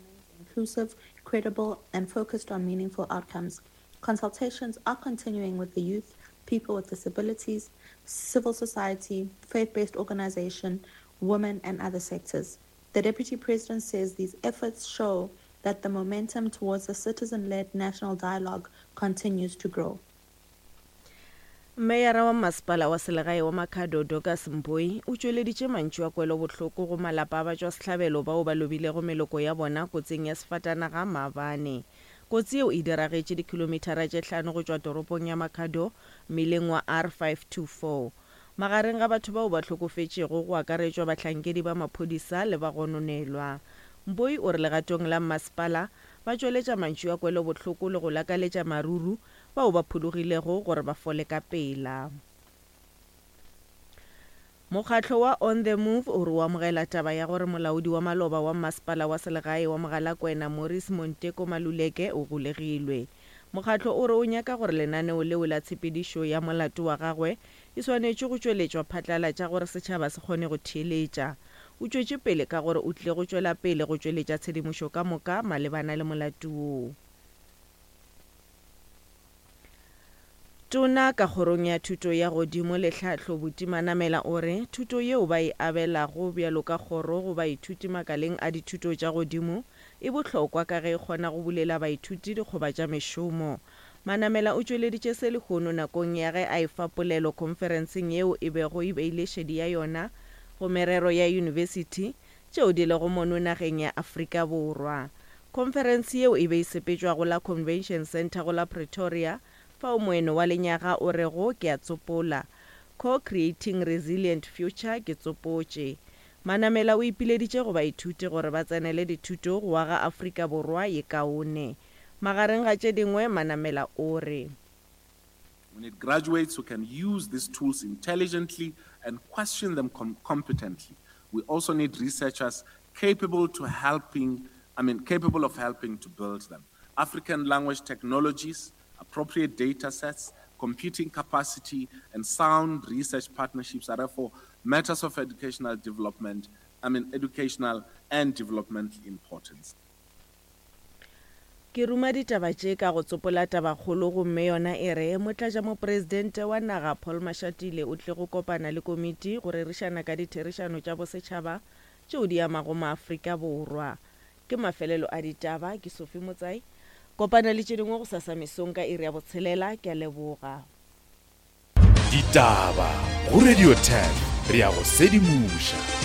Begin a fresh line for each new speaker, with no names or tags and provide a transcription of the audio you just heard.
remains inclusive, credible, and focused on meaningful outcomes. Consultations are continuing with the youth, people with disabilities, civil society, faith-based organization, women, and other sectors. The deputy president says these efforts show that the momentum towards a citizen-led national dialogue continues to grow.
Meyara wa Masepala wa Selegae wa Makhado Dorcas Mboi o tšweleditše mantšu a kwelobohloko go malapa a batšwasehlabelo bao ba lobilego meloko ya bona kotsing ya sefatanaga maabane. Kotsi yeo e diragetše dikhilomithara tše hlano go tšwa toropong ya Makhado mmileng wa R524. Magareng ga batho bao ba hlokofetšego go akaretšwa bahlankedi ba maphodisa le bagononelwa. Mboi o re legatong la mmasepala ba tšweletša mantšu a kwelobohloko le go lakaletša maruru bao ba phologilego gore ba fole ka pela. Mokgatlo wa On The Move o re o amogela taba ya gore molaodi wa maloba wa mmasepala wa selegae wa Mogalakwena Maurice Monteko Maluleke o golegilwe. Mokgatlo o re o nyaka gore lenaneo leo la tshepedišo ya molato wa gagwe e swanetšwe go tšweletšwa phatlalatša gore setšhaba se kgone go theeletša. O tšwetše pele ka gore o tlile go tšwela pele go tšweletša tshedimošo ka moka malebana le molato woo. Tona ka Kgorong ya Thuto ya Godimo le Tlhahlo Buti Manamela o re thuto yeo ba e abelago bjalo ka kgoro go baithuti makaleng a dithuto tša godimo e bohlokwa ka ge e kgona go bulela baithuti dikgoba tša mešomo. Manamela o tšweleditše se lehono nakong ya ge a efa polelo khonferenseng yeo e bego e beile šedi ya yona go merero ya yunibesithi tšeo di lego mono nageng ya Afrika Borwa. Khonferense yeo e be e sepetšwa go la Convention Centre go la Pretoria, fao moeno wa lenyaga o rego Ke a tsopola, Co-creating Resilient Future ke tsopotše. Manamela o ipileditše go baithuti gore ba tsenele dithuto go aga Afrika Borwa ye kaone. Magareng ga tše dingwe, Manamela o re.
We need graduates who can use these tools intelligently and question them com competently. We also need researchers capable to helping, I mean, capable of helping to build them. African language technologies, appropriate data sets, computing capacity, and sound research partnerships are therefore matters of educational development, I mean, educational and developmental importance.
Ke ruma ditaba tše ka go tsopola tabakgolo gomme yona e re, Motlatšamopresidente wa naga Paul Mashatile o tlile go kopana le komiti go rerišana ka ditherišano tša bosetšhaba tšeo di amago maAfrika Borwa. Ke mafelelo a ditaba, ke Sophie Motsai. Kopana le tše dingwe gosasa mesong ka iri ya botshelela. Ke a leboga.
Ditaba go Radio 10 re a go sedimoša.